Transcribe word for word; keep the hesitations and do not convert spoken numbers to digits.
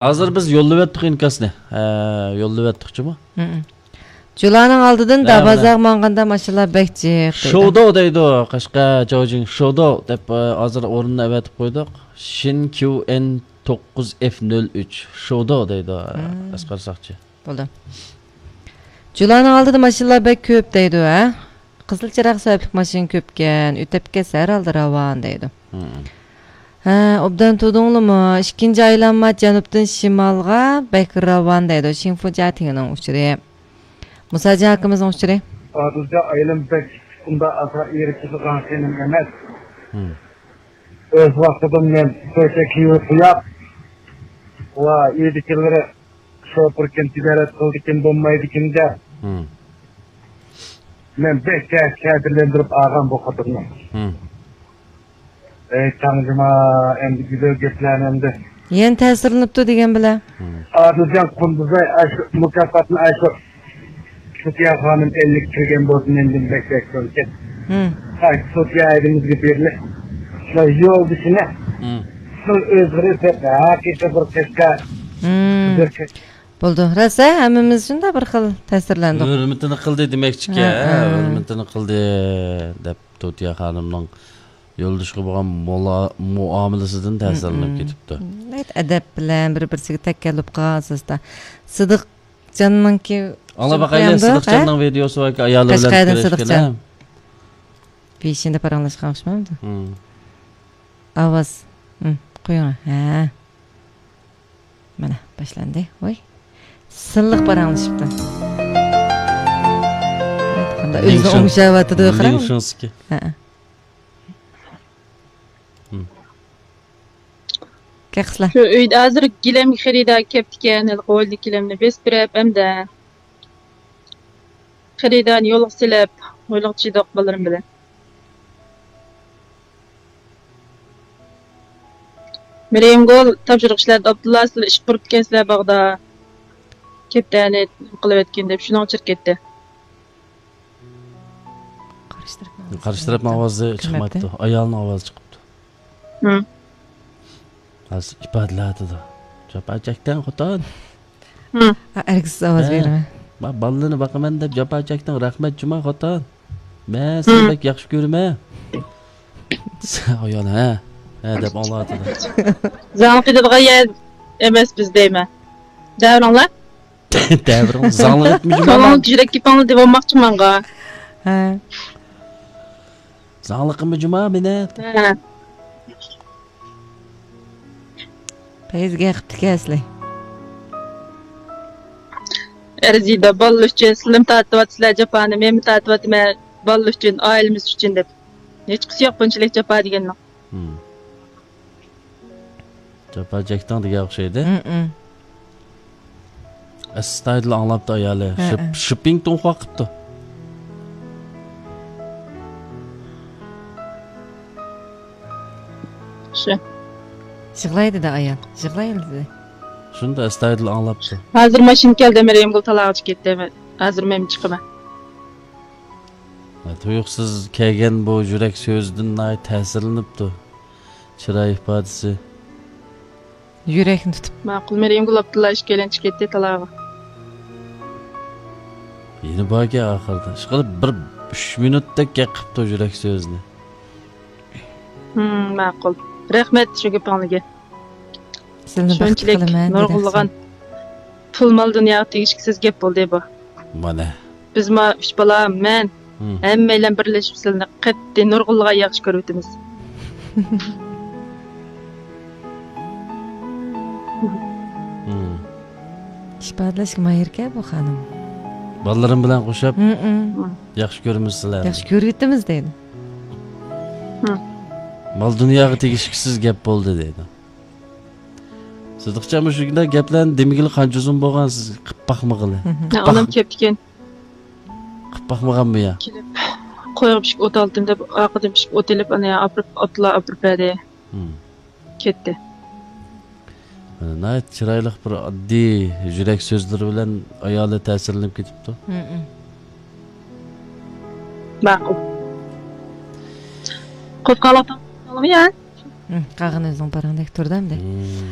ھازىر بىز يوللىۋەتتۇق ئىنكاسنى. ھە، يوللىۋەتتۇقچىمۇ؟ ھىم. جۇلانىڭ ئالدىدىن ھە، دابازاغا ماڭغاندا ماشىنىلار بەك جىق دەيدۇ. شوۋدو دەيدۇ. قەشقەر جاۋجىڭ شوۋدو دەپ، ئە، ھازىر ئورنىنى ئەۋەتىپ قويدۇق. شىن كيۇ ئېن توققۇز ئېف نۆل ئۈچ. شوۋدو دەيدۇ، ئە، ھىم. ئەسقەر ساقچى. بولدى. جۇلانىڭ ئالدىدا ماشىنىلار بەك كۆپ دەيدۇ، ھە؟ قىزىل چىراغ سەۋەبلىك ماشىنا كۆپكەن، ئۆتۈپ كەتسە ھەر ھالدا راۋان دەيدۇ. ھىم. ھە، ئوبدان تۇردۇڭلىمۇ؟ ئىككىنچى ئايلانما جەنۇبتىن شىمالغا بەك راۋان دەيدۇ. شىنفۇجيا تىڭنىڭ ئۇچۇرى. مۇساجان ئاكىمىزنىڭ ئۇچۇرى. ئادىلجان ئايلىم بەك ئۇنداق ئاسان ئېرىشىدىغان خېنىم ئەمەس. ھىم. ئۆز ۋاقتىدا مەن شۇ كىيىۋ قوياپ، ۋا ئىدىكىلىرى شوپۇركىن تىجارەت قىلىدىكىن بولمايدىكىن دەپ، ھىم. مەن بەك تەس-، تەسىرلەندۈرۈپ ئالغان بۇ خوتۇننى. ھىم. ئەي، تاڭ جۇما، ئەمدى گۈزەل گەپلەرنى ئەمدى. يەنە تەسىرلىنىپتۇ دېگەن بىلەن. ھىم. ئادىلجان قۇندۇزاي ئاشۇ مۇكاپاتنى ئاشۇ سوفىيە خانىم ئەللىك كىرگەن بولسا مەندىن بەك بەك كۆرسەت. ھىم. ھاي، سوفىيە ھەيدىمىزگە بېرىلىپ، شۇ يولدىشىنى ھىم. شۇ ئۆزگىرىپ ھەقىقىي بىر قەشقەر، ھىم. بىر قەشقەر. بولدى. راست، ھە، ھەممىمىز شۇنداق بىر خىل تەسىرلەندۇق. ھۆرمىتىنى قىلدى دېمەكچىكەن، ھە، ھە، ھە. ھۆرمىتىنى قىلدى دەپ، توتىيا خانىمنىڭ يولدىشىغا بولغان مۇلا-، مۇئامىلىسىدىن تەسىرلىنىپ ھىم. كېتىپتۇ. ناھايىتى ئەدەپ بىلەن بىر-بىرسىگە تەكەللۇپ قىلغان ئاساستا. سىدىقجاننىڭكى ئاڭلاپ باقايلى، سىدىقجاننىڭ ۋىدېئوسى باركەن، ئايالى بىلەن قەشقەردىن كۆرۈشكىنى. سىدىقجان. بېشىندا پاراڭلاشقان ئوخشىمامدۇ؟ ھىم. ئاۋاز. ھىم، قويۇڭ. ھە. مانا، باشلاندى. ۋاي. سىلىق پاراڭلىشىپتۇ. قانداق ئۆزىنى ئوڭشاۋاتىدۇ، قاراڭ. ھە. ھىم. كەل قىزلار. شۇ ئۆيدە ھازىر گىلەمگە خېرىدار كەپتىكەن، ھېلىقى ھويلىدىكى گىلەمنى بېسىپ بېرىپ، ئەمدى خېرىدارنى يولغا سېلىپ، ھويلىغا چىدۇق بالىلىرىم بىلەن. مەريەمگۈل تاپشۇرۇق ئىشلەردە ئابدۇللا، سىلەر ئىش قۇرۇپتىكەنسىلەر باغدا. كەپتەرنى قىلىۋەتكىن دەپ شۇنىڭغا چىرىپ كەتتى. قارشى تەرەپنىڭ ئاۋازى چىقماپتۇ. ئايالنىڭ ئاۋازى چىقىپتۇ. ھىم. ھازىر ئىپادىلەۋاتىدۇ. جاپا چەكتىڭ خوتۇن. ھىم. ئەركىسىز ئاۋاز بېرىمەن. بالىلىرىنى باقىمەن دەپ جاپا چەكتىڭ، رەھمەت جۇما خوتۇن. مەن سېنى بەك ياخشى كۆرىمەن. ئايال، ھە، ھە دەپ ئاڭلاۋاتىدۇ. زاڭ قىلىدىغان يەر ئەمەس بىز دەيمەن. دەۋرىڭلار. دەۋرىڭ زاڭلىق ئەتمە جۇما. كۆڭلۈڭلۈك يۈرەك گېپىڭلار دەۋالماقچىمەنغا. ھە. زاڭلىقىمۇ جۇما مېنى. ھە. پەيزىگە قىپتىكەنسىلەر. ئەرزىيدۇ، بالىلار ئۈچۈن سىلىمۇ تارتىۋاتىسىلەر جاپانى، مەنمۇ تارتىۋاتىمەن بالىلار ئۈچۈن، ئائىلىمىز ئۈچۈن دەپ. ھېچقىسى يوق بۇنچىلىك جاپا دېگەننىڭ. ھىم. جاپا چەكتىڭ دېگەن ئوخشايدۇ. ھىم، ھىم. ئەستايىدىل ئاڭلاپتۇ ئايالى. ھە، شىپ-، ھە. شىپپىڭ تۇڭخۇا قىپتۇ. شۇ. يىغلاي دېدى ئايال. يىغلاي دېدى. شۇنداق ئەستايىدىل ئاڭلاپتۇ. ھازىر ماشىنا كەلدى، مەريەمگۈل تالاغىچە كەتتى. ھازىر مەن چىقىمەن. تۇيۇقسىز كەلگەن بۇ يۈرەك سۆزىدىن ناھايىتى تەسىرلىنىپتۇ. چىراي ئىپادىسى. يۈرەكنى تۇتۇپ. ماقۇل، مەريەمگۈل ئابدۇللا ئىككىيلەن چىقىپ كەتتى تالاغا. يەنە باركەن ئاخىرىدا. ئىشقىلىپ بىر ئۈچ مىنۇتتەك گەپ قىپتۇ يۈرەك سۆزىنى. ھىم، ماقۇل. رەھمەت شۇ گېپىڭلارگە. سىلىنى بەختلىك قىلىمەن دېدى. شۇنچىلىك نۇرغۇنلىغان پۇل مال دۇنياغا تېگىشلىك گەپ بولدى بۇ. مانا. بىز ما ئۈچ بالا، مەن، ھىم. ھەممەيلەن بىرلىشىپ سىلىنى قەتئىي نۇرغۇنلىغان ياخشى كۆرۈۋېتىمىز. ھىم. ئىپادىلەشكە ماھىركەن بۇ خانىم. بالىلىرىم بىلەن قوشۇپ، ھىم، ھىم. ياخشى كۆرىمىز سىلەرنى. ياخشى كۆرۈۋېتىمىز دەيدۇ. ھىم. مال دۇنياغا تېگىشلىك سىز گەپ بولدى دەيدۇ. سىدىقجان مۇشۇنداق گەپلەرنى دېمىگىلى قانچە ئۇزۇن بولغان سىز قىپ باقمىغىلى؟ ھىم. قىپ باق-، ئانام كەپتىكەن. قىپ باقمىغانمۇ يا؟ كېلىپ، قويغا پىشىپ ئوت ئالدىم دەپ، ئارقىدىن پىشىپ ئوت ئېلىپ، ئانا يا ئاپىرىپ، ئابدۇللا ئاپىرىپ بەردى. ھىم. كەتتى. ناھايىتى چىرايلىق بىر ئاددىي يۈرەك سۆزلىرى بىلەن ئايالى تەسىرلىنىپ كېتىپتۇ. ھىم، ھىم. ماقۇل. قوزغالاقتىن قالدىڭمۇ يا؟ ھىم، قالغىنى ئۆزۈڭ پاراڭدەك تۇرىدۇ ئەمدى. ھىم.